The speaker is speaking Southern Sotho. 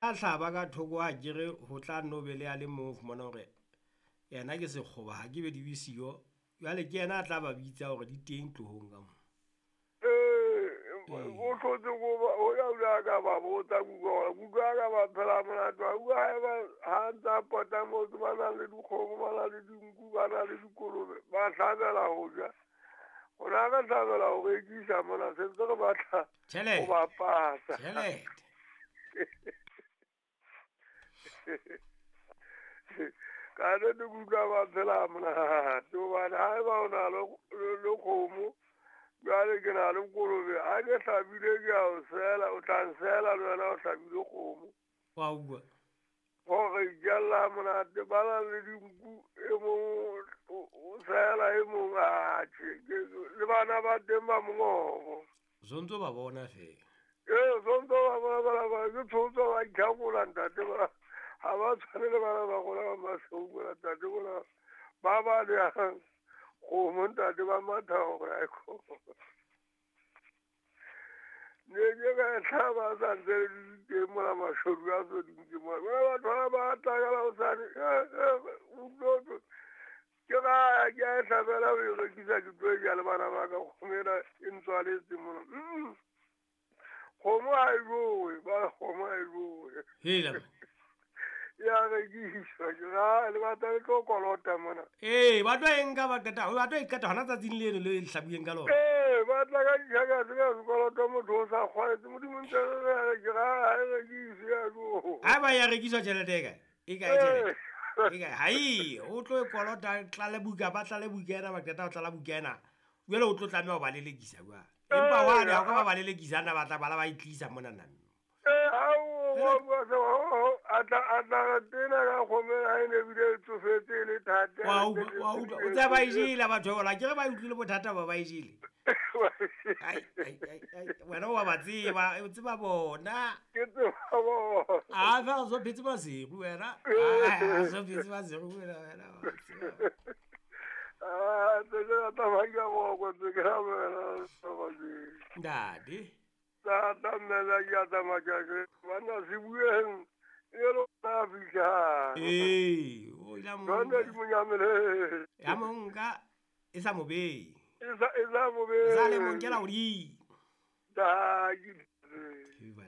A hlaba ka thoko ha kere ho tla nno be le a le mong o fumana hore yena ke sekgoba ha ke be di be siyo. Jwale ke yena a tla ba bitsa hore di teng tlohong ka mo. Ee, o hlotse ko ba o ya o ka ba botsa kuka kuka ka ba phela monate wa utlwa haeba ha ntsa pota motse ba na le dikgomo ba na le dinku ba na le dikolobe ba hlabela ho ja. Rona re hlabela ho rekisa mona se ntse re batla ho bapatsa. Tjhelete. Ka nnete ke utlwa ba phela monate hobane haeba o na le kgomo jwale ke na le kolobe ha ke hlabile ke a o sela o tla nsela le wena o hlabile kgomo. Wa utlwa. Hore itjalla monate ba na le dinku e mong o sela e mong atjhe le bana ba teng ba mongobo. Sontso ba bona feela. Ee, sontso ba bona bana ba ke tshotso ba itlhakola ntate ba ha ba tshwane le bana ba rona ba maseu mona ntate bona ba ba leyang kgomo ntate ba matha hore ha e kgomo. Ne ke ka e hlaba a sa ntse le teng mona mashodu a so dintse mona. Bona batho ba ba tla ka la hosane ke ga ke a e hlabela ho e rekisa ke tlo e ja le bana ba ka kgomo ena e ntswaletse mona. Kgomo ha e jowe, ba kgomo ha e jowe. Hela. Ya rekiswa ke ga le batla le tlo kolota mona. Ee, ba tlo e nka ba qeta, ba tlo e qeta hona tsatsing leno le hlabueng ka lona. Ee, ba tla ka ditjhaka tse ka sekoloto motho o sa kgwaetse modimo ntse re ke ga ha e rekiswe ya jo. Ha ba ya rekiswa tjhelete e kae? E kae tjhelete? E kae? Ha e, o tlo e kolota tlale buka, ba tlale buka ena ba qeta ho tlala buka ena. Jwale o tlo tlameha ho ba lelekisa jwale. Empa wane ha o ka ba ba lelekisa nna ba tla bala ba e tlisa mona nna. A tla tena ka kgomo ha e ne bile e tsofetse e le thata. Wa utlwa, o tsa ba e jele batho bona, ke re ba utlwile bothata ba ba e jele. Ai ai ai, wena wa ba tseba, o tseba bona. Ke tseba bona. A fa so phetse masigo wena. A so phetse masigo wena wena. Ah, tse ke tla ba ke go go tse ke ra wena. Ntate. Tata mmela ke a tsamaya ke banna se bueng e lo na fihla. Ee, o ila mo. Jwale di monyamele. Ya mo nka e sa mo behe. E sa mo behe. Sa le mo nkela hodimo. Ta ke. Ke ba